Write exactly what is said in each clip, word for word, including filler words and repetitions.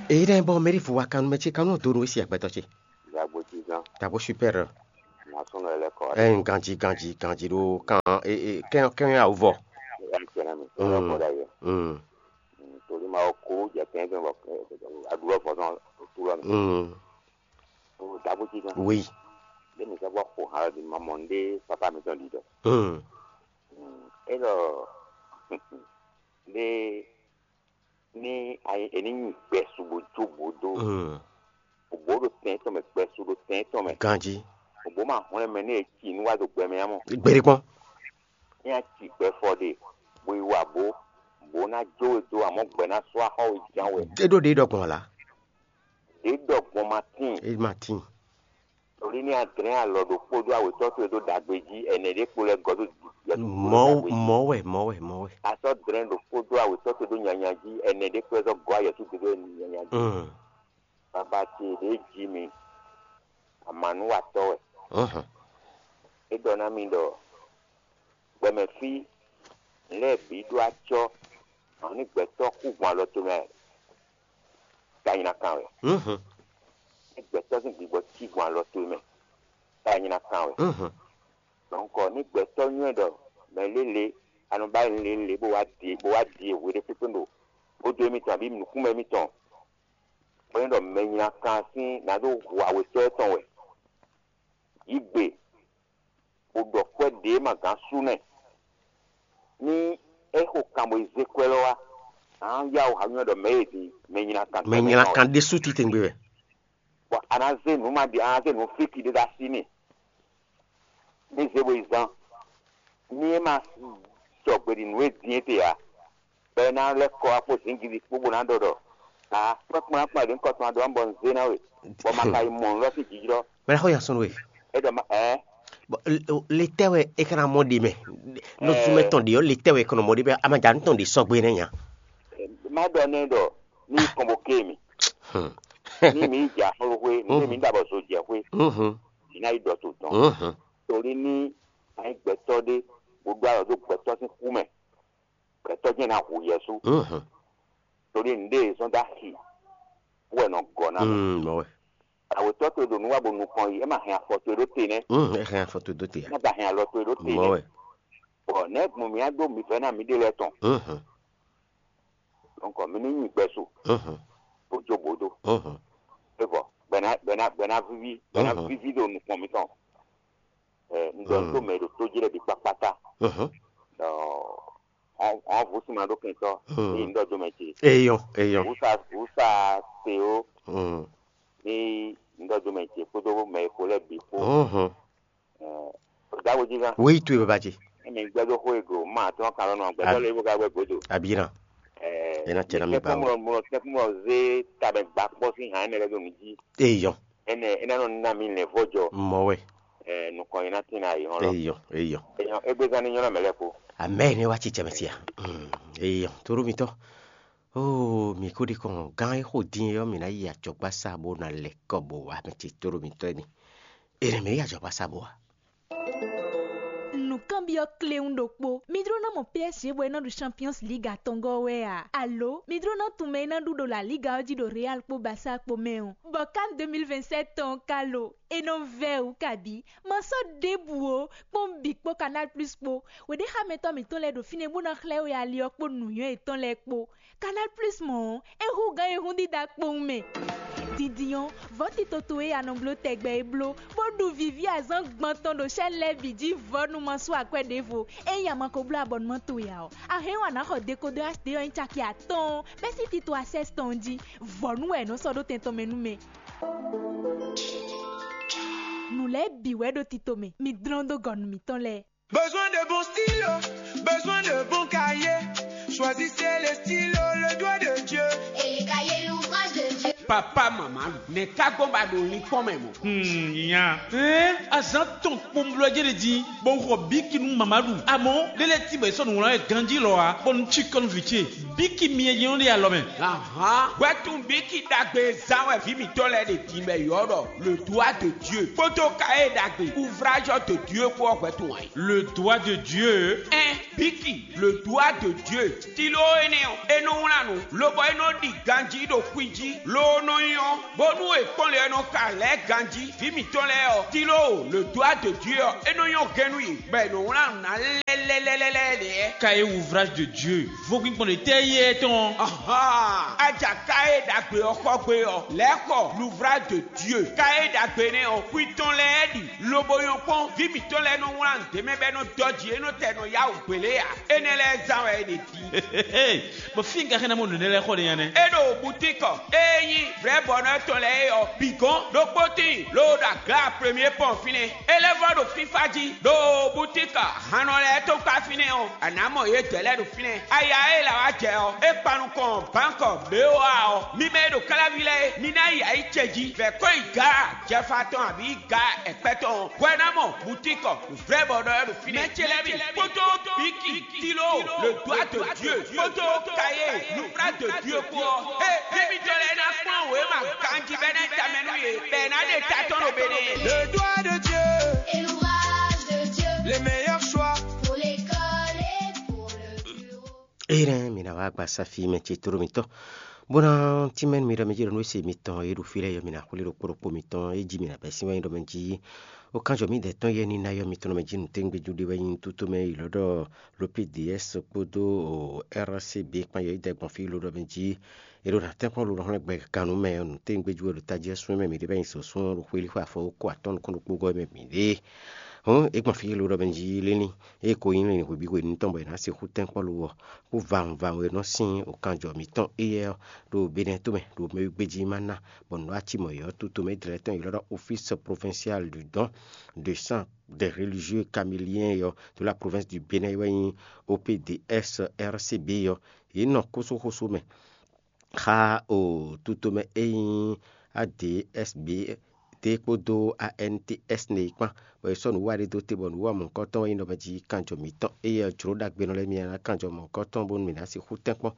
Èyí ɖɛ́ bɔ mɛɖi fu wa kannu mɛ ce kannu donu esi agbɛtɔ ce. Yagbo cí gán. Tabo super. Nasɔnɔ yɛ lɛ kɔ. Ɛn ganji ganji ganji ɖo kan e e kɛn kɛn awu vɔ. Ɛn kɛnɛ mi. Mm. Ɛn kɔ da yɛ. Mm. Torí ma ko jɛ kɛn kɛn bɔ aɖu lɔ fɔ sɔn tu lɔ mi. Mm. O dabo cí gán. Oui. Ɖe mi sɛ bɔ xo hã di ma mɔ nɖe papa mi tɔn di dɔ. Mm. Mm. E lɔ nɖe ní è ní nyi gbɛsu bó jó bó dó. Bó ɖo tɛn tɔn mɛ, gbɛsu ɖo tɛn tɔn mɛ. Ganjí. Bó ma hwlɛ́n mɛ ní è ci nú wá ɖo gbɛ mɛ ǎ mɔ. Gbèɖé kpɔ́n. Ní a ci gbɛ fɔ ɖe, bó yi wa bó, bó ná jó we dó, amɔ̌ gbɛ ná sɔ́ axɔ́ we ján wɛ. É ɖó ɖě ɖɔ gbɔn la. Ɖě ɖɔ gbɔn ma tíin. É ma tíin. Torí ní a dlɛ́n alɔ ɖokpó dó awětɔ́ towe ɖó ɖagbe jí, ɛnɛ ɖé kpo lɛ́ gɔ́ dó yɛsu Mɔ̌ mɔ̌ wɛ mɔ̌ wɛ mɔ̌ wɛ. A sɔ́ dlɛ́n ɖokpó dó awětɔ́ towe ɖó nyanya jí, ɛnɛ ɖé kpo lɛ́ sɔ́ gɔ́ ayɛsu towe ɖó nyanya jí. Mm. Baba ce ɖě jí mi, amǎnúwatɔ́ wɛ. Mhm. É ɖɔ ná mi ɖɔ gbɛmɛ fí lɛ́ɛ bǐ ɖó acɔ́, àwọn ní gbɛtɔ́ kú gbɔn alɔ towe mɛ, ta nyi ná kan wɛ. Mhm. Ní gbɛtɔ́ sín gbigbɔ cí gbɔn alɔ towe mɛ, ta nyi ná kan wɛ. Mhm. Donc ní gbɛtɔ́ nywɛ́ ɖɔ mɛ lélele a nɔ ba nyí lélele bó wá die bó wá die hwe ɖé kpékpé ɖo xódó émítɔn abí nǔkúnmɛ émítɔn, bó nyí ɖɔ mɛ nyi ná kan sín ná ɖó hu awětɔ́ tɔn wɛ. Yí gbe bó ɖɔ kwɛ́ ɖě ma gǎn sú nɛ́. Ní é xo kan bó yi zé kwɛ́ lɔ wá, a nǎ yá wǔ hǎnywɛ́ ɖɔ mɛ̌ e din mɛ nyla kan mɛ nyla kan ɖésú titewungbe wɛ. Bɔ a nǎ zé nǔ ma ɖi a nǎ zé nǔ fíki ɖé ɖó así n'i. Ní zé bó yi zán. Ní é ma sɔgbe ɖi nǔ e din é te ǎ, bɔ é ná lɛ́ kɔ wá kpó zǐngídi kpó bó ná ɖɔ ɖɔ aa kpɛ́ kplɔ́n akpɔ́n ɖě ŋkɔ tɔn adó bɔ un zé ná we, bɔ ma ka yi mɔ nǔ lɔ sín jijlɔ́. Mɛ ɖaxó ya sɔn we. É ɖɔ ma ɛɛ. Bɔ le tɛ wɛ e kana mɔ ɖe mɛ? Nɔ zumɛ tɔn ɖe ɔ le tɛ wɛ kɔnɔ mɔ ɖe bɛ amaja ntɔn ɖe sɔgbe nɛ nya. Má ɖɔ nɛ ɖɔ ní kɔn bó ké mi. Ní mi yi jɛ axɔ́lúxwé ní mi ɖo abɔ zo jɛ xwé. Ní ná yi ɖɔ to dɔn. Torí ní a nyí gbɛtɔ́ ɖé bó ɖó alɔ dó gbɛtɔ́ sín kú mɛ, gbɛtɔ́ jɛ́n ná hu yɛsú. Torí nǔɖé e zɔ́n dó axi wɛ nɔ gɔ́ ná mɛ. Awětɔ́ towe ɖo nǔ wa bɔ nukɔn yi, é ma hɛn afɔ towe ɖó te nɛ́. Ɛ hɛn afɔ towe dó te. Má ba hɛn alɔ towe ɖó te nɛ́. Bɔ nɛ̌ gbɔn mǐ á ɖó mǐ vɛ́ ná mǐɖée lɛ́ɛ tɔn. Donc mǐ ní nyi gbɛsu bó jó bǒ dó. É vɔ gbɛ̌ ná gbɛ̌ ná gbɛ̌ ná víví gbɛ̌ ná víví ɖo nukɔn mǐtɔn. Un ɖɔ tó mɛ ɖo tó jí lɛ́ɛ bǐ kpákpátá. Ɔn vǔ sin ma ɖó kɛntɔ́ ní un ɖɔ dó mɛ ce. Eyɔn eyɔn. Vǔsa vǔsa te ó ní un ɖɔ dó mɛ ce kpódó mɛ e xo lɛ́ɛ bǐ kpó. Ɖaxo jí gán. Wéyi towe baba ce. Emi gbɛdó xó ego ma tɔn kan lɔnà gbɛdó lé bó ka gbɛ godo. Abina. Ena tɛ na mi ba o. Mlɔ tɛkun mlɔ zé tabɛ gba kpɔ sín hàn ɛnɛ lɛ do mi jí. Eyɔn. Ɛnɛ ɛnɛ nɔ na mi lɛ vɔjɔ. Mɔ wɛ. Nukɔn yi na tin na yi hɔn lɔ. Eyɔn eyɔn. Eyɔn egbe zan ni nyɔnɔ mɛ lɛ ko. Amɛ ne wa ci cɛmɛ sia. Eyɔn toro mitɔ. Oo mi ko ɖi kɔn gán e xo dín e ɔ́ mi ná yi ajɔgbá sa bó ná lɛ kɔ bó wa mɛ ce toro mitɔ e mi. Ene mɛ yi ajɔgbá sa bó wa. Nǔkanbyɔ́ kléwún ɖokpó. Mi jló ná mɔ P S G bɔ é ná ɖu Champions League atɔngɔ́ wɛ a? Alo mi jló ná tunwun mɛ e ná ɖu ɖo La Liga ɔ́ jí ɖo Real kpó Barça kpó mɛ ɔ́? Bɔ kan deux mille vingt-sept tɔn ɔ́ ka lo? É nɔ vɛ́ wǔ kabǐ? Ma sɔ́ ɖěbǔ ó, kpɔ́n bǐ kpó Canal Plus kpó. Wěɖéxámɛtɔ́ mǐtɔn lɛ́ɛ ɖo fínɛ́ bó ná xlɛ́ we ali ɔ́ kpó nǔnywɛ́ yětɔn lɛ́ɛ kpó. Canal Plus mɔ̌ ɔ́, é hú gǎn e hún dídá kpowun mɛ. Dindin ɔ́, vɔ̌ tito towe e a nɔ bló tɛgbɛ é bló, bó ɖu vǐví azǎn gbɔn tɔn ɖo sɛ́n lɛ́ɛ bǐ jí vɔ̌ nú ma sú akwɛ́ ɖěvo. Ényí a ma ko bló abɔnumán towe ǎ ɔ́, a hɛn wǎn ná xɔ dekodɔ H D ɔ́ nyí caki atɔ́ɔ́n bɛ́ sín tito Access tɔn jí. Vɔ̌ nú wɛ è nɔ sɔ́ ɖó tɛn tɔn mɛ nú mɛ. Nǔ lɛ́ɛ bǐ wɛ ɖo tito mɛ, mi dlɔ́n dó gɔ̌ nú mǐtɔn lɛ́ɛ. Besoin de bons stylos, besoin de bons cahiers. Choisissez les stylos, le doigt de Dieu. Et les cahiers, l'ouvrage de Dieu. Papá mama lu, nɛ̌ ka gbɔn ba ɖo linkpɔ́n mɛ mɔ̌? Hmm, nya. Ɛn azǎn tɔn kpɔnblɔ jɛ́n ɖe din, bɔ un xɔ bíki nú mama ɖu. Amɔ̌, ɖé lɛ́ɛ tín bɔ è sɔ́ nǔ wlán wɛ ganjí lɔ ǎ, bɔ un cí kɔ́ nú vǐ ce. Bíki myɛ jɛ́n ɔ́ ɖe alɔ mɛ. Ahan, hwɛtun bíki ɖagbe zán wɛ vǐ mǐtɔn lɛ́ɛ ɖe din bɔ è ylɔ́ ɖɔ le doigt de Dieu kpódó kayé ɖagbe ouvrage de Dieu kpó ɔ́ hwɛtun ǎ. Le doigt de Dieu. Ɛn bíki le doigt de Dieu. Tiló énɛ́ ɔ́, é nɔ wlán nǔ, lobɔ é nɔ ɖi ganjí ɖo xwi jí, loo nɔ nyɔ́, bónú è kpɔ́n lě ɔ́ nɔ ka lɛ̌ ganjí. Vǐ mǐtɔn lɛ́ɛ ɔ́, tiló le doigt de Dieu ɔ́, é nɔ nyɔ́ gɛ́n nú yě, bɔ è nɔ wlán nǔ ná lɛ́lɛ́lɛ́lɛ́ lɛ́ɛ. Kayé ouvrage de Dieu, vodún gbɔn ɖě tɛ́ yí é tɔn? Ahan, aja kayé ɖagbe ɔ́ xɔ gbé ɔ́, lɛ̌ xɔ l'ouvrage de Dieu. Kayé ɖagbe nɛ́ ɔ́, xwi tɔn lɛ́ɛ ɖi, lobo nyɔ́ kpɔ́n, vǐ mǐtɔn lɛ́ɛ nɔ wlán nǔ ɖé mɛ bɔ é nɔ dɔ́ jǐ, é nɔ tɛ nɔ yá wǔ gbě lé ǎ. Énɛ́ lɛ́ɛ zán wɛ è ɖe din. Bɔ fí un ka xá ná mɔ nǔ énɛ́ lɛ́ɛ xɔ ɖe nya nɛ́? É ɖo butíkɔ, ée nyí vrɛ̌bɔnɔ tɔn lɛ́ɛ é ɔ́, bǐ gɔ́n ɖokpó tíin, loo ɖo aga premier pɔn fínɛ́. É lɛ́ vɔ́ ɖo fífá jí, ɖo butíkɔ hannɔ lɛ́ɛ tɔn kpá fínɛ́ ɔ́, a nǎ mɔ yě dɛ̌ lɛ́ɛ ɖo fínɛ́. Aya e la wá jɛ ɔ́, é kpan nukɔn bǎnkɔ B O A ɔ́, mi mɛ e ɖo káláví lɛ́ɛ é, mi ná yi ayǐ ce jí, vɛ̌ kɔn yi Gaa jɛfa tɔn abǐ Gaa ɛkpɛ́ tɔn ɔ́, hwɛ ná mɔ butíkɔ vrɛ̌bɔnɔ ɔ́ ɖo fínɛ́. Mɛ ce lɛ́ɛ mi kpódó bíki, Tilo, le doigt de Dieu, kpódó Kayé, l'ouvrage de Dieu kpó ɔ́, é, émítɔn lɛ́ɛ ná kplɔ́n wěma ganjí bɔ é ná yi tamɛ nú yě, bɔ è nǎ ɖe ta tɔn ɖo Benɛ́. Le doigt de Dieu, Et l'ouvrage de Dieu les meilleurs choix. Pour l'école et pour le bureau. Eye nɛ mi ná wá gba safi mɛ ce tlóló mitɔn, bó ná tínmɛ nú mi ɖɔ mɛ jí ɖɔ nú se mitɔn e ɖo fí lɛ́ɛ yɔ, mi ná xwlé ɖokpó ɖokpó mitɔn e jí mi ná bɛ́ sín wɛ nyí ɖɔ mɛ jí. Ó kánjɔ mì dɛ̌ tɔn yɛ ní ná yɔ mitɔn ɖɔ mɛ jí nǔtɛ́ngbéjú ɖé wɛ nyí tútú mɛ yi lɔ̌ ɖɔ ló P D S kpódó R C B kpán yɔ yi dɛ gbɔn fí ló ɖɔ mɛ jí. È ɖo ná tɛ́nkpɔ́n ló nɔ xlɛ́ gbɛ gannú mɛ nǔtɛ́ngbéjú wɛ ɖo tají ɔ́ sún mɛ mǐ ɖe bɔ nyi sǒsún ɔ́ ɖo xwé líxwé afɔ kó atɔ́ nukún ɖokpó gɔ́ mɛ mǐ ɖe. Hǔn é gbɔn fí ló ɖɔ mɛ jí lé ní. Ée ko nyí lɛ̌ngbǐ hwebǐ hwenu tɔn bɔ è nǎ sixú tɛ́n kpɔ́ ló ɔ́, kpó vawun vawun e nɔ sín okanjɔ mǐtɔn éyɛ́ ɔ́ ɖo Benɛ́ tomɛ ɖo mɛwígbéjí ma ná, bɔ nǔ acimɔ yě ɔ́, tutomɛ dlɛ̌ tɔn e ylɔ́ ɖɔ Office Provincial du Don de Sang des Religieux Caméliens ɔ́, de la province du Bénin wɛ nyí O P D S R C B ɔ́, yě nɔ kósóxósó mɛ xá o tutomɛ e nyí A D S B D kpódó A N T S nɛ é kpán, bɔ è sɔ́ nǔwiwa ɖé dó te bɔ nǔwiwa mɔ̌hunkɔtɔn wɛ nyí ɖɔ mɛ jí kanjɔ mǐtɔn éyɛ́ ɔ́ jló ɖagbenɔ lɛ́ɛ mì ná kanjɔ mɔ̌hunkɔtɔn bónú mǐ ná sixú tɛ́nkpɔ́n.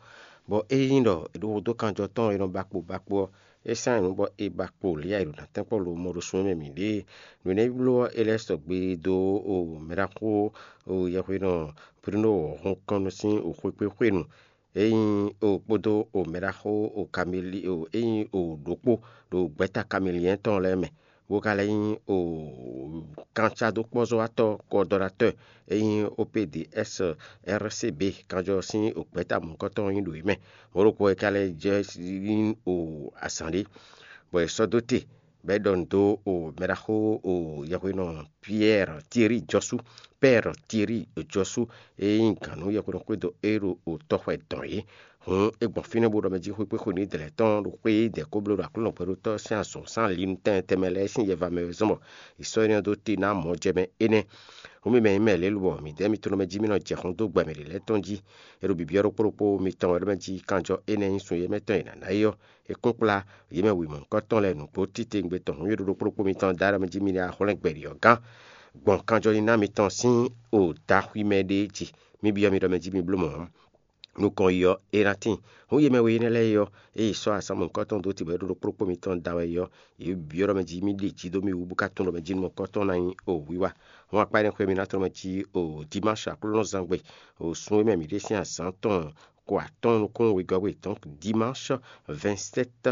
Bɔ ényí ɖɔ è ɖo xo dó kanjɔ tɔn e nɔ ba kpo ba kpo ɔ́, é sán nǔ bɔ è ba kpo lě e è ɖo ná tɛ́nkpɔ́n lo mɔ ɖo sun e mɛ mǐ ɖe é. Nǔ énɛ́ bló ɔ́, é lɛ́ sɔgbe dó o mɛɖaxó o yɛhwenɔ Bruno Hunkɔn sín o xwekpéxwenu. É nyí o kpódó o mɛɖaxó o Kameli o é nyí o ɖokpó ɖo gbɛ̌ta Kameliɛn tɔn lɛ́ɛ mɛ, bó ka lɛ́ nyí o kancadókpɔ́zɔ́watɔ́ coordonnateur é nyí O P D S R C B kanjɔ sín o gbɛ̌ta mɔ̌hunkɔtɔn nyí ɖo yě mɛ. Mɔ̌ ɖokpó wɛ ka lɛ́ jɛ nyí o azǎn ɖé, bɔ è sɔ́ dó te bɔ é ɖɔ nǔ dó o mɛɖaxó o yɛhwenɔ Pierre Thierry Jɔsú, Père Thierry Jɔsú, e nyí gǎn nú yɛhwenɔ xwédo e ɖo o tɔxwɛ dɔn é. Hǔn é gbɔn fínɛ́ bó ɖɔ mɛ jí xwé kpé xwe ní dlɛ̌ tɔn ɖo xwé e dɛ̌ kó bló ɖo Aklúnɔ gbɛɖótɔ́ sín azɔ̌ sín ali nú tɛn tɛnmɛ lɛ́ɛ sín yɛva mɛ wɛ zɔ́n bɔ è sɔ́ énɛ́ ɔ́ dó te ná mɔ̌ jɛ mɛ énɛ́. Hǔn mi mɛ nyí mɛ lě lobɔ mǐdɛɛ mitɔn ɖɔ mɛ jí mì nɔ jɛ xɔ́n dó gbɛ mɛ ɖě lɛ́ɛ tɔn jí. É ɖo bǐbyɔ́ ɖokpó ɖokpó mitɔn wɛ ɖɔ mɛ jí kanjɔ énɛ́ nyí sun e mɛ tɔn è nǎ ná é ɔ́, è kún kplá yě mɛ wěma nukɔntɔn lɛ́ɛ nǔgbó titewungbe tɔn hǔn e ɖo ɖokpó ɖokpó mitɔn da ɖɔ mɛ jí mi ná xwlɛ́n gbɛɖi ɔ́ gán. Gbɔn kanjɔnyiná mitɔn sín o daxwi mɛ ɖé ce, mì byɔ́ mi ɖɔ mɛ jí mi bló mɔ̌. Nukɔn yi ɔ́, é ná tíin. Hǔn yě mɛ we énɛ́ lɛ́ɛ é ɔ́, ée yě sɔ́ asán mɔ̌hunkɔtɔn dó te bɔ é ɖo ɖokpó ɖokpó mitɔn da wɛ é ɔ́, yě byɔ́ ɖɔ mɛ jí mì ɖi jǐ dó mì wú bó ka tunwun ɖɔ mɛ jí nukɔntɔn ná nyí o wiwa. Hǔn akpá énɛ́ xwé mi ná tlɔ́n mɛ jí o dimanche Aklúnɔzán gbe, o sun e mɛ mǐ ɖe sín azǎn tɔn ko atɔ́ɔ́n nukún wegɔ́ we, donc dimanche vingt-sept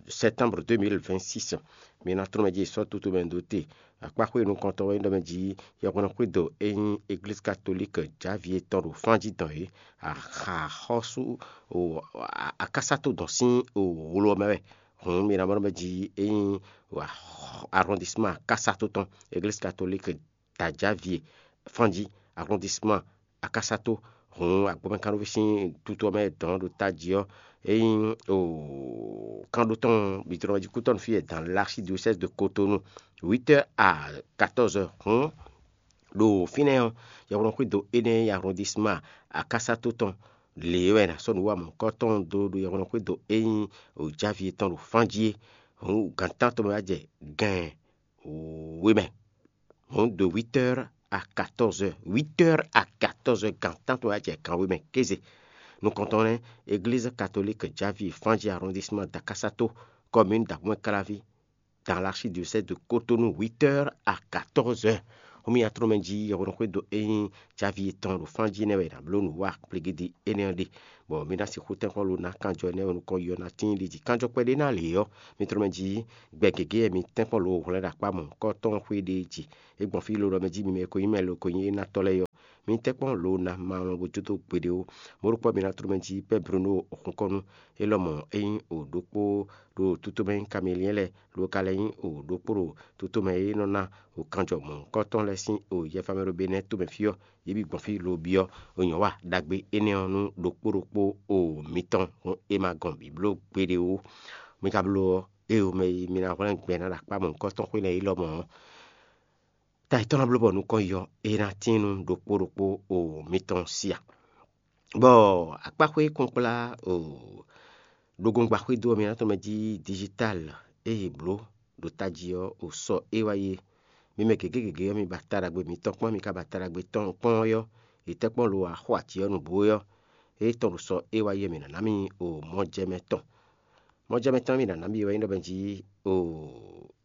septembre deux mille vingt-six. Mi ná tlɔ́n mɛ jí sɔ́ tutu mɛ dó te. Akpáxwé nukɔntɔn wɛ nyí ɖɔ mɛ jí yɛhwɛ́nɔ xwédo e nyí Eglízi Katolík Javíe tɔn ɖo fán jí dɔn é, axɔ́sú akásátó dɔn sín wlo ɔ́ mɛ wɛ. Hǔn mi ná mɔ ɖɔ mɛ jí e nyí arrondissement akásátó tɔn, Eglízi Katolík Tajavie fán jí, arrondissement Akasato. Hǔn agbɔmɛkánɖóví sín tutú ɔ́ mɛ dɔn ɖo tají ɔ́, é nyí o kánɖótɔn bǐdrɔ́ jí kútɔ́ nú fí e dan l'archidiocèse de Cotonou, huit heures à quatorze heures. Hǔn ɖo fínɛ́ ɔ́, yɛhweɖɔxwído énɛ́ e nyí arrondissement Akasato tɔn Lě wɛ è nǎ sɔ́ nǔ wa mɔ̌hunkɔtɔn dó ɖo yɛhweɖɔxwédo e nyí Jǎvi tɔn ɖo fán jí é. Hǔn gan tántɔn mɛ wá jɛ gan wěmɛ. Hǔn de huit heures à quatorze heures, huit heures à quatorze heures, gan tántɔn wá jɛ gan wěmɛ kéze. Nukɔntɔn lɛ́ɛ, Église catholique Jǎvi fán jí arrondissement Dakasato, commune d'Aboukmaklavi, dans l'archidiocèse de Cotonou, huit heures à quatorze heures. Xómí atrɔ́mɛ jí yɛhweɖɔxwédo e nyí Jǎvi tɔn ɖo fán jí nɛ́ wɛ è nǎ bló nǔ wa kplégídí énɛ́ ɔ́ ɖe, bɔ mǐ ná sixú tɛ́nkpɔ́n lo ná kanjɔ énɛ́ wɛ nukɔn yɔ ná tíin ɖi jí kanjɔ kpɛɖé ná lě ɔ́, mi tlɔ́ mɛ jí gbɛ gěgé wɛ mi tɛ́nkpɔ́n lo hwlɛ́n ɖo akpá mɔ̌hunkɔtɔn xwé ɖé jí. É gbɔn fí ló ɖɔ mɛ jí mi mɛ e ko nyí mɛ lo ko nyí énátɔ́ lɛ́ɛ ɔ́, mi tɛ́nkpɔ́n lo ná ma lɔn bó jó dó gbeɖé ó. Mɔ̌ ɖokpó ɔ́, mi ná tló mɛ jí Pɛ́ Bruno Xɔnkɔ́nú, é lɔmɔ̌ é nyí o ɖokpó ɖo tútomɛ nyí Kameliɛ́n lɛ́ɛ, lo ka lɛ́ nyí o ɖokpó ɖo tútomɛ e nɔ ná o kanjɔ mɔ̌hunkɔtɔn lɛ́ɛ sín o yɛfamɛ ɖo Benɛ́ɛ tomɛ fí ɔ́, yě bǐ gbɔn fí lo byɔ́ o nyɔ̌wa ɖagbe énɛ́ ɔ́ nú ɖokpó ɖokpó o mitɔn, hǔn è ma gɔn bǐ bló gbeɖé ó. Mi ka bló ɔ́, éeǒ mɛ e mi ná hwlɛ́n gbɛ ná ɖo akpá mɔ̌hunkɔtɔn xwé lɛ́ɛ é lɔmɔ̌ ɔ́, ta yětɔn ná bló bɔ nukɔn yɔ é ná tín nú ɖokpó ɖokpó o mitɔn sia. Bɔ akpáxwé kɔnkplá o ɖogɔngba xwédo ɔ́, mi ná tɔn mɛ jí digital e yě bló ɖo tají ɔ́ o sɔ é wá yi é. Mi mɛ gěgé gěgé ɔ́, mi ba ta ɖagbe mitɔn kpɔ́n, mi ka ba ta ɖagbe tɔn kpɔ́n ɔ́ yɔ́, yě tɛ́ kpɔ́n lo wá xo aci ɔ́ nǔgbó é ɔ́, é tɔn ɖo sɔ é wá yi é, mǐ ná ná mi o mɔjɛmɛ tɔn. Mɔjɛmɛ tɔn e mǐ ná ná mi wɛ nyí ɖɔ mɛ jí o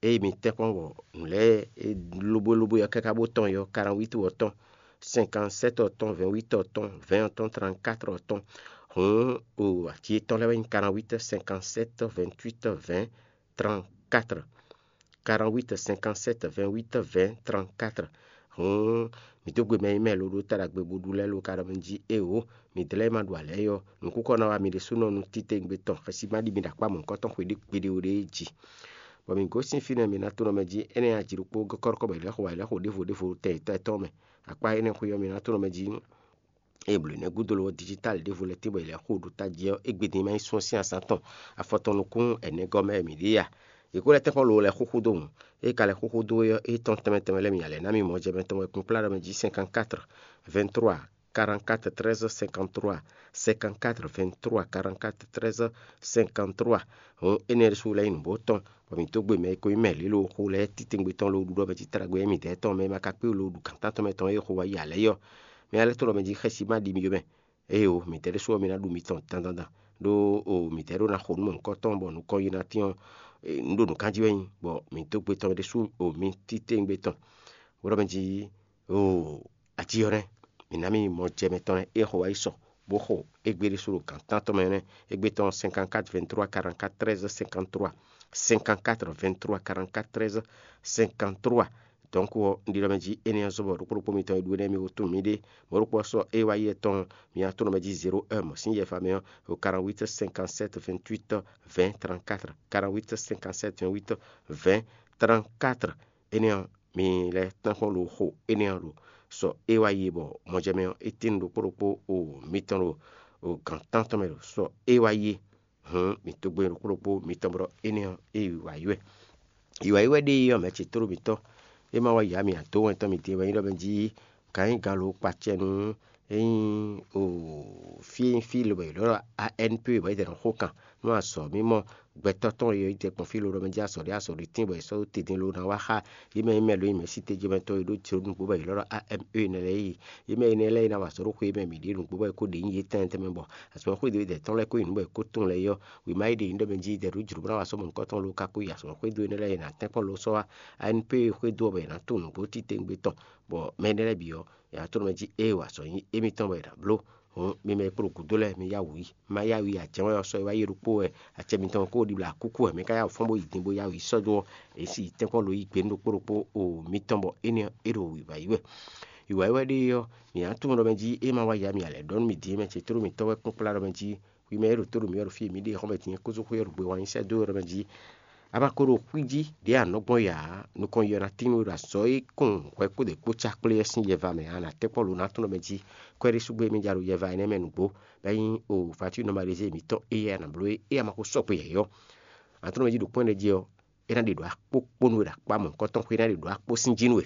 ée mi tɛ́ kpɔ́n bɔ nǔ lɛ́ɛ e lóbó lóbó ɔ́ káká bó tɔn yɔ, quarante-huit ɔ́ tɔn, cinquante-sept ɔ́ tɔn, vingt-huit ɔ́ tɔn, vingt ɔ́ tɔn, trente-quatre ɔ́ tɔn. Hǔn o aci yětɔn lɛ́ɛ wɛ nyí quarante-huit, cinquante-sept, vingt-huit, vingt, trente-quatre. Quarante-huit, cinquante-sept, vingt-huit, vingt, trente-quatre. Hǔn mǐ dó gbe mɛ e nyí mɛ lo ɖó ta ɖagbe bó ɖu lɛ́ɛ lo ka ɖɔ mɛ jí éeǒ, midɛɛ lɛ́ɛ e ma ɖu alɛ é ɔ́, nǔkúkɔ ná wá mi ɖésúnɔ nú títewungbe tɔn xɛsi ma ɖi mi ɖo akpá mɔ̌hunkɔtɔn xwé ɖé gbeɖé ó ɖéé jí. Bɔ mǐ gosín fínɛ́ mǐ ná tónɔ mɛ jí, énɛ́ ɔ́, aji ɖokpó gɔ́ kɔ́ɖɔkɔ́ bɔ è lɛ́ xo, è lɛ́ xo ɖěvo ɖěvo tɛn yětɔn yětɔn mɛ. Akpá énɛ́ xwé ɔ́, mǐ ná tónɔ mɛ jí. Ée blǒ énɛ́ gúdo lo ɔ́, digital ɖěvo lɛ́ɛ tín bɔ è lɛ́ xo ɖo tají ɔ́, égbé din ma nyí sún ɔ́ sín azǎn tɔn, afɔ tɔn nukún ɛnɛgɔ́ mɛ wɛ mǐ ɖe a? Yě ko lɛ́ tɛ́nkpɔ́n lo lɛ́ xúxú dó hǔn. Ée ka lɛ́ xúxú dó é ɔ́, é tɔn tɛnmɛ tɛnmɛ lɛ́ɛ mǐ nya lɛ̌ ná mì mɔjɛmɛ tɔn wɛ kplɔ́nkplɔ́n mɛ jí cinquante-quatre, vingt-trois, quarante-quatre, treize, cinquante-trois, cinquante-quatre, vingt-trois, quarante-quatre, treize, cinquante-trois. Hǔn énɛ́ ɖésú lɛ́ nyí nǔgbó tɔn, bɔ mǐ dó gbe mɛ e ko nyí mɛ lě lo xo lɛ́ɛ titewungbe tɔn lo ɖu ɖɔ mɛ jí taɖagbe émí dɛɛ tɔn mɛ e ma ka kpé lo ɖu gǎn tántɔn mɛ tɔn e xo wá yi alɛ yɔ́. Mɛ alɛ́ tɔn ɖɔ mɛ jí xɛsi ma ɖi mi yomɛ. Éyo, mǐdɛɛ ɖésú ɔ́, mi ná ɖu mitɔn dandan dan, ɖó o mǐdɛɛ ɖó ná xo nú mɔ̌hunkɔtɔn bɔ nukɔn yi ná tín ɔ́, nǔ ɖo nǔkanjí wɛ nyí, bɔ mǐ dó gbe tɔn ɖésú o mi titewungbe tɔn. Bó ɖɔ mɛ jí o aji ɔ́ nɛ́, mǐ ná mì mɔ jɛ mɛtɔn lɛ́ɛ e xo wá yi sɔ, bó xo égbé ɖésú ɖo gǎn tántɔn mɛ nɛ́. Égbé tɔn cinquante-quatre, vingt-trois, quarante-quatre, treize, cinquante-trois, cinquante-quatre, vingt-trois, quarante-quatre, treize, cinquante-trois. Donc ɔ́, un ɖi ɖɔ mɛ jí énɛ́ ɔ́ zɔ́n bɔ ɖokpó ɖokpó mitɔn e ɖu énɛ́ mi wú tunwun mì ɖe. Mɔ̌ ɖokpó ɔ́ sɔ́ é wá yi etɔn mì atɔ́ nɔ mɛ jí zéro un mɔ̌ sín yɛfa mɛ ɔ́, ɖo quarante-huit, cinquante-sept, vingt-huit, vingt, trente-quatre, quarante-huit, cinquante-sept, vingt-huit, vingt, trente-quatre. Énɛ́ ɔ́, mi lɛ́ tɔ́n kpɔ́n ɖo xo énɛ́ ɔ́ ɖo sɔ é wá yi bɔ mɔjɛmɛ ɔ́, é tín ɖokpó ɖokpó o mitɔn ɖo o gǎn tántɔn mɛ ɖo sɔ é wá yi é. Hǔn mǐ dó gbe ɖokpó ɖokpó mitɔn bɔ énɛ́ ɔ́, é yi wǎ yi wɛ. Yi wǎ yi wɛ ɖe ɔ́, mɛ̌ ce tlóló mǐtɔn, é ma wá yǎ mì ado wɛn tɔn mǐ din wɛ nyí ɖɔ mɛ jí gǎnyigǎn lo kpacɛ nú é nyí o fí e nyí fí lobɔ è ɖɔ A N P bɔ é jɛ nɔ xó kan nú azɔ̌ mímɔ gbɛtɔ́ tɔn e yí te kpɔn fí lo ɖɔ mɛ jí azɔ̌ ɖé azɔ̌ ɖé tín bɔ è sɔ́ dó te din lo ná wá xá yě mɛ e mɛ lo nyí mɛ̌si tejɔmɛtɔ́ e ɖó jlǒ nǔgbó bɔ è ɖɔ ɖɔ A M E nɛ́ lɛ́ɛ yi. Yě mɛ énɛ́ lɛ́ɛ e ná wa azɔ̌ ɖó xwe e mɛ mǐ ɖe nǔgbó bɔ è ko ɖě nyí yě tɛnmɛ tɛnmɛ bɔ azɔ̌ xwedó e dɛ̌ tɔn lɛ́ɛ ko nyi nǔ bɔ è ko tunwun lɛ́ɛ yi ɔ́, wěma e ɖe nyí ɖɔ mɛ jí dɛ̌ ɖó jlǒ bó ná wa sɔ́ mɔ̌hunkɔtɔn lo ka kó yi azɔ̌ xwedó énɛ́ lɛ́ɛ e nǎ tɛ́nkpɔ́n lo sɔ́ wá A N P xwedó ɔ́ bɔ è nǎ tunwun nǔgbó titewungbe tɔn, bɔ mɛ énɛ́ lɛ́ɛ bǐ ɔ́, è nǎ tunwun mɛ jí ée wa azɔ̌ nyí émítɔn bɔ è nǎ bló. Hǔn mi mɛ e kpo ɖo gǔdo lɛ́ɛ, mi yá wǔ yi. Ma yá wǔ yi, ajɛ̌ wɛ ɔ́ sɔ́ e wá yi ɖokpó wɛ, acɛ mitɔn ko ɖibla kúkú wɛ, mi ka yá wǔ fɔ́n bó yi din bó yá wǔ yi sɔ́ dó ɔ́, è si yi tɛ́nkpɔ́n lo yí gbe nú ɖokpó ɖokpó o mitɔn bɔ énɛ́ ɔ́, é ɖo wǐwá yi wɛ. Wǐwá yi wɛ ɖe ɔ́, mǐ ná tunwun ɖɔ mɛ jí é ma wá ya mì alɛ ɖɔ nú mi din é mɛ ce tlóló mǐtɔn wɛ kpɔ́n kplá ɖɔ mɛ jí hwi mɛ e ɖo tó ɖo mǐ wɛ ɖo fí e mǐ ɖe xɔ́mɛ din é kúzú xwé ɔ́ ɖo gbe wǎn nyi sɛ́ dó ɔ́ ɖɔ mɛ jí a ma ko ɖo xwí jí ɖě anɔ̌gbɔn ya ǎ, nukɔn yɔ ná tín we ɖo azɔ̌ e kɔn hwɛ kpó ɖě kpó cá kplé ɔ́ sín yɛva mɛ ǎ, nǎ tɛ́ kpɔ́ lo ná tɔ́n ɖɔ mɛ jí kwɛ́ɖésúgbó e mí ja ɖo yɛva énɛ́ mɛ nǔgbó, bɔ é nyí o vatu nɔmalize mǐtɔn éyɛ́ ná bló é, é a ma ko sɔ́ gbe yɛ̌yɔ́. Nǎ tɔ́n ɖɔ mɛ jí ɖo kpɔ́n énɛ́ jí ɔ́, é ná ɖe ɖǒ akpó kpó nú we ɖo akpá mɔ̌hunkɔtɔn xwé, é ná ɖe ɖǒ akpó sín jí nú we.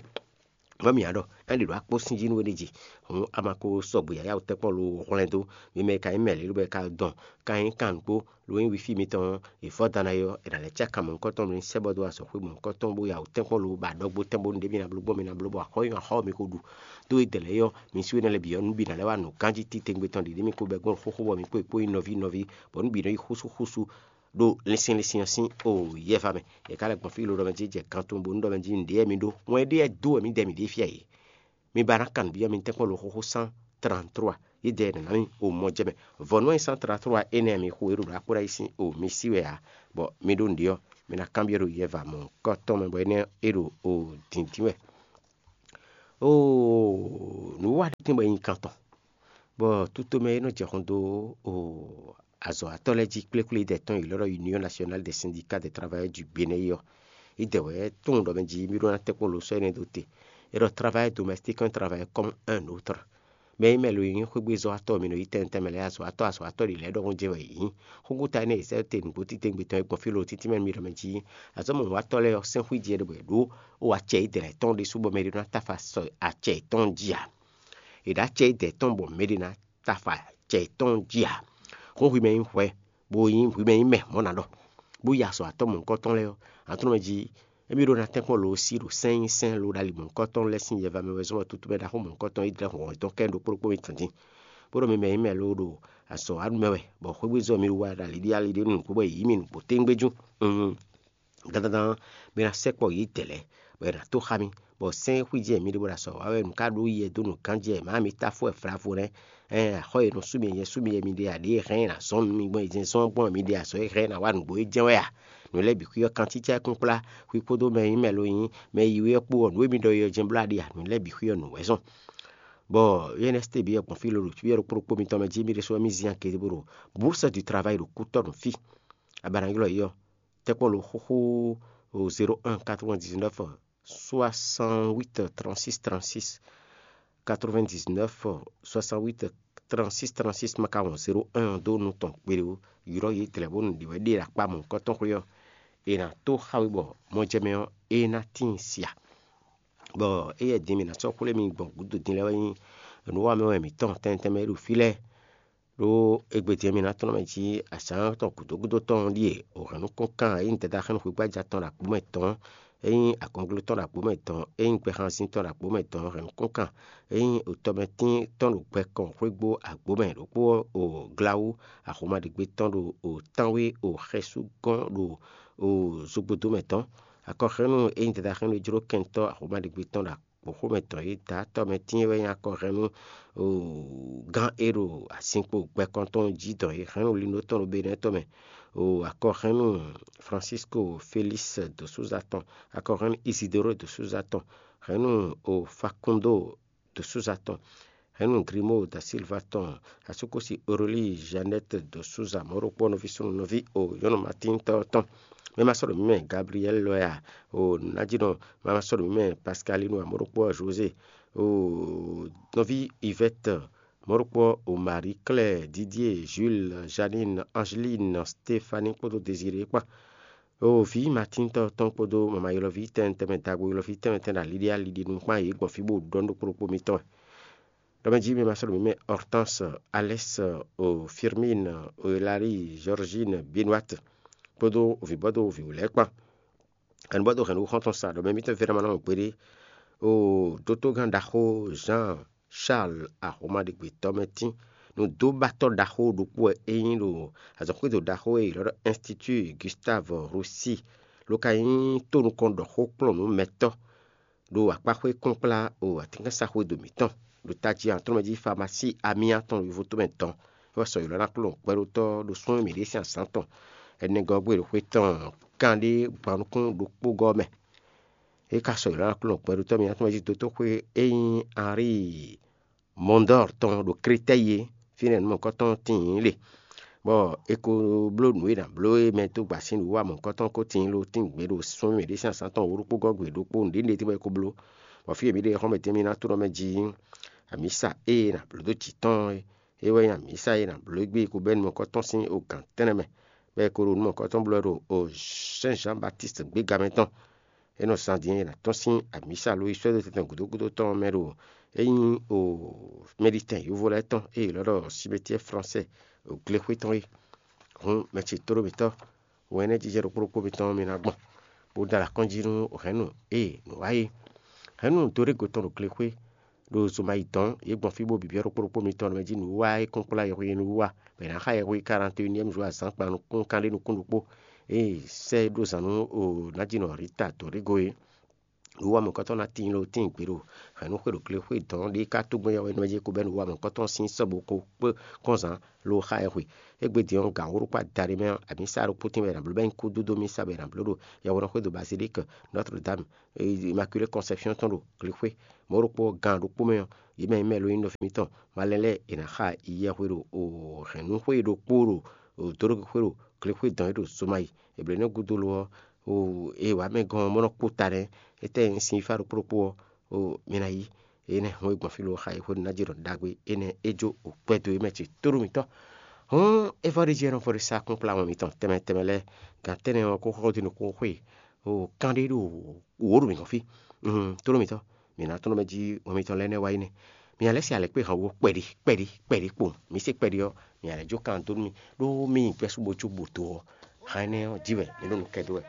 Vɔ́ mǐ ɖɔ é ɖi ɖǒ akpó sín jí nú we ɖ'é jí. Hǔn a ma ko sɔgbe yǎyá wú tɛ́nkpɔ́n lo hwlɛ́n dó. Mi mɛ e ka nyí mɛ̌ lě lóbɔ è ka dɔn ka nyí kanukpó lo nyí wifi mitɔn ɔ́, è vɔ́ dan ná é ɔ́, è nǎ lɛ́ cá mɔ̌hunkɔtɔn mi ní sɛ́ bɔ dó azɔ̌xwé mɔ̌hunkɔtɔn bó ya wǔ tɛ́nkpɔ́n lo bɔ aɖɔgbo tɛ́nbó nǔɖé mi ná bló gbɔn mi ná bló bɔ axɔ́ nyí axɔ́ mi ko ɖu. Dó e dɛ̌ lɛ́ɛ ɔ́, mi sú énɛ́ lɛ́ɛ bǐ ɔ́, nǔ bǐ ná lɛ́ wá nǔ ganjí titewungbe tɔn ɖě mi ko bɛ́ gbɔn xóxó bɔ mi kpó yi kpó nyí nɔví nɔví, bɔ nǔ bǐ nɔ nyí xúsúxúsú ɖo linsin linsin ɔ́ sín o yɛva mɛ. È ka lɛ́ gbɔn fí lodɔmɛ jí jɛ kan tɔn bónú ɖɔ mɛ jí nǔɖé wɛ mi ɖó. Wɛn ɖé wɛ dó wɛ mǐ dɛ mǐ ɖe fí ayǐ. Mi ba ná kan nǔ byɔ́ mi tɛ́nkpɔ́n lo xóxó cent trente-trois, yi dɛ nǎ mi o mɔ jɛ mɛ. Vɔ̌nu e cent trente-trois énɛ́ mi xo e ɖo ɖo akpó ná yi sín o mi sí wɛ ǎ, bɔ mi ɖó nǔɖé ɔ́, mi ná kanbyɔ́ ɖo yɛva mɔ̌hunkɔtɔn mɛ bɔ énɛ́ é ɖo o dǐndín wɛ. Oo, nǔwiwa ɖé tɛ́n bɔ é nyí kan tɔn, bɔ tutomɛ e nɔ jɛ xɔn dó o azɔ̌watɔ́ lɛ́ɛ jí kplékplé dɛ tɔn e ylɔ́ ɖɔ Union Nationale des Syndicats des Travailleurs du Bénin é ɔ́, é dɛ wɛ tunwun ɖɔ mɛ jí mí ɖó ná tɛ́nkpɔ́n lo sɔ́ énɛ́ dó te. É ɖɔ travailleur domestique un travailleur comme un autre. Mɛ e mɛ lo nyí xwégbezɔ́watɔ́ mi nɔ yí tɛnmɛ tɛnmɛ lɛ́ɛ azɔ̌watɔ́ azɔ̌watɔ́ ɖě lɛ́ɛ ɖɔhun jɛ wɛ yě nyí. Xógúta énɛ́ e sɛ́ te nǔgbó títewungbe tɔn e gbɔn fí lo títí mɛ nú mi ɖɔ mɛ jí azɔ̌ mɔ̌hunkɔtɔn lɛ́ɛ ɔ́ sɛ́n xwíji wɛ ɖo bɔ yě ɖó o acɛ yědɛɛ tɔn ɖésú bɔ mɛ ɖé ná táfa sɔ acɛ yětɔn jí ǎ. È ɖǒ acɛ yědɛɛ tɔn bɔ mɛ ɖé ná táfa acɛ yětɔn jí ǎ. Xó hwi mɛ nyí hwɛ, bó nyí hwi mɛ nyí mɛ mɔ̌ ná ɖɔ, bó yi azɔ̌ atɔ́ mɔ̌hunkɔtɔn lɛ́ɛ ɔ́, aklúnɔ jí émí ɖó ná tɛ́nkpɔ́n lo sí ɖo sɛ́n nyi sɛ́n lo ɖali mɔ̌hunkɔtɔn lɛ́ɛ sín yɛva mɛ wɛ zɔ́n bɔ tutu mɛ ɖaxó mɔ̌hunkɔtɔn yi dlɛ́ hɔn tɔn kɛ ɖokpó ɖokpó mi tɔn dín. Bó ɖɔ mi mɛ nyí mɛ lóó ɖo azɔ̌ wa mɛ wɛ, bɔ xwégbé zɔ́ mi wá ɖo ali ɖíe ali ɖé nǔgbó bɔ è yǐ mì nǔgbó téngbé jú. Dandandan, mi ná sɛkpɔ yědɛɛ lɛ́ɛ, bɔ è nǎ tó xá mì, bɔ sɛ́n e xwíjɛ mi ɖe bó ɖo azɔ̌ wa wɛ nǔ ká ɖó yɛ dó nǔ ganjí wɛ, mǎ mi táfó wɛ vlavo nɛ́. Ɛn axɔ́ e nɔ sú mi nyɛ sú mi yɛ mi ɖe ǎ, ɖě e hɛn ɛ ná zɔ́n nú mi gbɔn e jɛ́n zɔ́n gbɔn mi ɖe azɔ̌ e hɛn ɛ ná wa nǔgbó e jɛ́n wɛ a? Nǔ lɛ́ɛ bǐ xwí ɔ́, kantícá e kún kplá hwi kpódó mɛ e nyí mɛ lo nyí mɛ yiwi ɔ́ kpó ɔ́, nǔ e mi ɖɔ é ɔ́ jɛ́n bló a ɖe a? Nǔ lɛ́ɛ bǐ xwí ɔ́, nǔ wɛ zɔ́n. Bɔ yɛ́nɛsité bǐ wɛ gbɔn fí lo ɖo fí ɔ́ ɖokpó ɖokpó mitɔn mɛ jí mi ɖésú wɛ mì zin akɛ́ bó ɖo bourse du travail ɖo kútɔ́ nǔ fí. Abana ylɔ́ yě ɔ́, tɛ́nkpɔ́n lo xóxó zéro un quatre-vingt-dix-neuf soixante-huit trente-six trente-six, quatre-vingt-dix-neuf soixante-huit trente-six trente-six ma ka wɔn zéro un ɔ́ dó nú tɔn kpeɖé ó. Ylɔ́ yě dlɛ̌ bónú ɖě wɛ ɖe ɖo akpá mɔ̌hunkɔtɔn xwé ɔ́, è nǎ tó xá we bɔ mɔjɛmɛ ɔ́, é ná tíin sia. Bɔ éyɛ́ din mǐ ná sɔ́ xwlé mi gbɔn gǔdo din lɛ́ɛ wɛ nyí nǔwanmɛ wɛ mǐtɔn tɛnmɛ tɛnmɛ e ɖo fí lɛ́ɛ. Ɖó égbé din ɔ́, mi ná tlɔ́n mɛ jí azǎn tɔn gǔdo gúdo tɔn ɔ́ ɖíe wǒ hɛn nú kɔ́nkan e nyí dada xɛn nú xwígbája tɔn ɖo agbǒ mɛ dɔn, é nyí agɔnglo tɔn ɖo agbǒ mɛ dɔn, é nyí gbɛhanzin tɔn ɖo agbǒ mɛ dɔn hɛn nú kɔ́nkan, é nyí otɔmɛtín tɔn ɖo gbɛ kɔn xwégbó agbǒ mɛ ɖokpó ɔ́ o glawú axɔmaɖigbe tɔn ɖo o tánwé o xɛsú gɔ́n ɖo o zogbodó mɛ dɔn. Akɔxɛ́nú e nyí dada xɛn nú jló kɛntɔ́ axɔmaɖigbe tɔn ɖo gbǒxomɛ tɔn e dǎ tɔmɛ tíin wɛ nyí akɔhɛnnú gán e ɖo azinkpo gbɛkɔntɔn jí dɔn e hɛn nú linló tɔn ɖo Benɛ́ɛ tɔn mɛ. Akɔhɛnnú Francisco Félix de Souza tɔn, akɔhɛnnú Isidoro de Souza tɔn, hɛnnú Facundo de Souza tɔn, hɛnnú Grimo da Silva tɔn, asúkúsi Aurélie Jeannette de Souza, mɔ̌ ɖokpó nɔví súnnu nɔví o nyɔ̌nu Matíntɔ́ tɔn. Mɛ ma sɔ́ ɖo mǐ mɛ Gabriɛ́l lɔ ya o nǎjínɔ, mɛ ma sɔ́ ɖo mǐ mɛ Pascalino, mɔ̌ ɖokpó José o nɔví Yvette, mɔ̌ ɖokpó o Marie Claire, Didier, Jules, Janine, Angeline, Stéphanie kpódó Désiré kpán. O vǐ Matíntɔ́ tɔn kpódó mama ylɔ́ví tɛnmɛ tɛnmɛ, dago ylɔ́ví tɛnmɛ tɛnmɛ ɖo aliɖí aliɖí nu kpán yě gbɔn fí bó ɖɔ nú ɖokpó ɖokpó mitɔn wɛ. Ɖɔ mɛ jí mi ma sɔ́ ɖo mǐ mɛ Hortense, Alex, o Firmin, o Hilary, Georgine, Benoît kpódó vǐbɔ́dó vǐwú lɛ́ɛ kpán. Hɛ̌nnubɔ́dó hɛ̌nnu xɔ́ntɔn sa ɖɔ mɛ mitɔ́ Vɛ́nɛ́ ma ná mɔ gbeɖé. O dótógán ɖaxó Jean Charles Ahomaɖigbe tɔ́ mɛ tín. Nǔdóbatɔ́ ɖaxó ɖokpó wɛ é nyí ɖo azɔ̌xwédo ɖaxó e è ylɔ́ ɖɔ Institut Gustave Roussy, ló ka nyí tónukɔn ɖɔ xó kplɔ́n nǔ mɛtɔ́ ɖo akpáxwé kplɔ́nkplá o atínkansa xwédo mǐtɔn ɖo tají Antlɔ́mɛ jí famasí amyá tɔn ɖo yovotómɛ dɔn. É wɛ sɔ́ ylɔ́ ná kplɔ́n gbɛɖótɔ́ ɖo súnnu mǐɖée sín azǎn tɔn ɛnɛgɔ́ gbe ɖo xwe tɔn kanɖé gban nukún ɖokpó gɔ́ mɛ. É ka sɔ́ ylɔ́ ná kplɔ́n gbɛɖótɔ́ mǐtɔn mɛ jí dótóxwé e nyí Henri Mondor tɔn ɖo Krétɛ́yi é, fínɛ́ nǔ mɔ̌hunkɔtɔn tíin le, bɔ è ko bló nǔ e è nǎ bló é mɛ dó gba sín nǔwiwa mɔ̌hunkɔtɔn ko tíin lo tín gbe ɖo súnnu mǐɖée sín azǎn tɔn wǒ ɖokpó gɔ́ gbe ɖokpó nǔɖé nǔɖé tɛ́nwe ko bló, bɔ fí e mǐ ɖe xɔ́mɛ din mì ná tlɔ́n mɛ jí amǐsa e è nǎ bló dó jǐ tɔn é, é wɛ nyí amǐsa e è nǎ bló égbé ko bɛ́ nǔ mɔ̌hunkɔtɔn sín ogǎn tɛ́nnɛ mɛ, bɔ è ko ɖo nǔ mɔ̌hunkɔtɔn bló wɛ ɖo Sɛ́n Zǎn Batíst gbéga mɛ tɔn. É nɔ zán din e è nǎ tɔ́n sín amǐsa ló yi sɔ́ dó tɛntɛn gǔdo gúdo tɔn ɔ́ mɛ ɖo é nyí o mɛɖitɛn yovo lɛ́ɛ tɔn e è ylɔ́ ɖɔ simetiɛ fransɛ o glexwé tɔn é. Hǔn mɛ ce tóɖó mǐtɔn, wɛn énɛ́ jijɛ ɖokpó ɖokpó mitɔn mi ná gbɔn, bó dó alɔ akɔ́njí nú hɛ̌nnu e nǔ wa é. Hɛ̌nnu dó ɖé go tɔn ɖo glexwé ɖo zomayi dɔn, yě gbɔn fí bó bǐbyɔ́ ɖokpó ɖokpó mitɔn ɖo mɛ jí nǔwiwa e kún kplá yɛhweyi nú wa, bɔ è nǎ xa yɛhweyi karanteyuniɛ́mu zo azǎn kpan nukúnkan ɖé nukún ɖokpó. Ée sɛ́ ɖó zǎn nú o nǎjínɔ Rita Dorigo é. Nǔwamɔ̌kɔ́tɔn ná tíin ló tíin gbe ɖo hɛ̌nnu xwe ɖo glexwé dɔn ɖé ká tó gbɔn yɛhweyi nú mɛ jí ko bɛ́ nǔwamɔ̌kɔ́tɔn sín sɔ́ bó ko kpé kɔn zǎn lo xa yɛhwe. Égbé din ɔ́, gan wǒ ɖokpó adaɖé mɛ ɔ́, amǐsa ɖokpó tín bɔ è nǎ bló bɛ́ nyí kúdúdú mísa bɔ è nǎ bló ɖo yɛhweɖɔxwé ɖo Bazilík Notre Dame, Maculée Conception tɔn ɖo glexwé. Mɔ̌ ɖokpó ɔ́, gan ɖokpó mɛ ɔ́, yě mɛ e nyí mɛ e ló nyí nɔví mitɔn malɛn lɛ́ɛ è nǎ xa yɛhwe ɖo hɛ̌nnúxwé ɖokpó ɖo dǒɖoxwé ɖo glexwé dɔn é ɖo Zomayi. È blǒ énɛ́ gúdo lo ɔ́, e wǎ mɛ gɔ́n ɔ́, bó nɔ́ kpó ta nɛ́. Étɛ́ nyí sin yífá ɖokpó ɖokpó ɔ́, mǐ ná yí. Énɛ́ hɔn e gbɔn fí lo xa yi xwénu ná jɛ ɖɔ ɖagbe énɛ́ é jó o kpɛ́ dó é mɛ ce tóɖó mǐtɔn. Hɔn é vɔ ɖ'é jí ɛnɔ vɔ ɖ'é sá kpɔ́n kplá wɛn mitɔn tɛnmɛ tɛnmɛ lɛ́ɛ. Gan tɛ́nɛ ɔ́ kó xɔ dó nukún xwé o kán ɖé ɖo wǒ ɖo mǐ gɔ́n fí. Tóɖó mǐtɔn, mǐ ná tónú mɛ jí wɛn mitɔn lɛ́ɛ nɛ́ wá yi nɛ́. Mǐ ná lɛ́ se alɛkpé han wo kpɛɖi kpɛɖi kpɛɖi kpowun. Mǐ se kpɛɖi ɔ́, mǐ ná lɛ́ jó kan dó nú mì, ɖó mì nyi gbɛ́ sú bó jó bǒ dó ɔ́, han énɛ́ ɔ́ jí wɛ mǐ ɖo nǔ kɛ dó wɛ.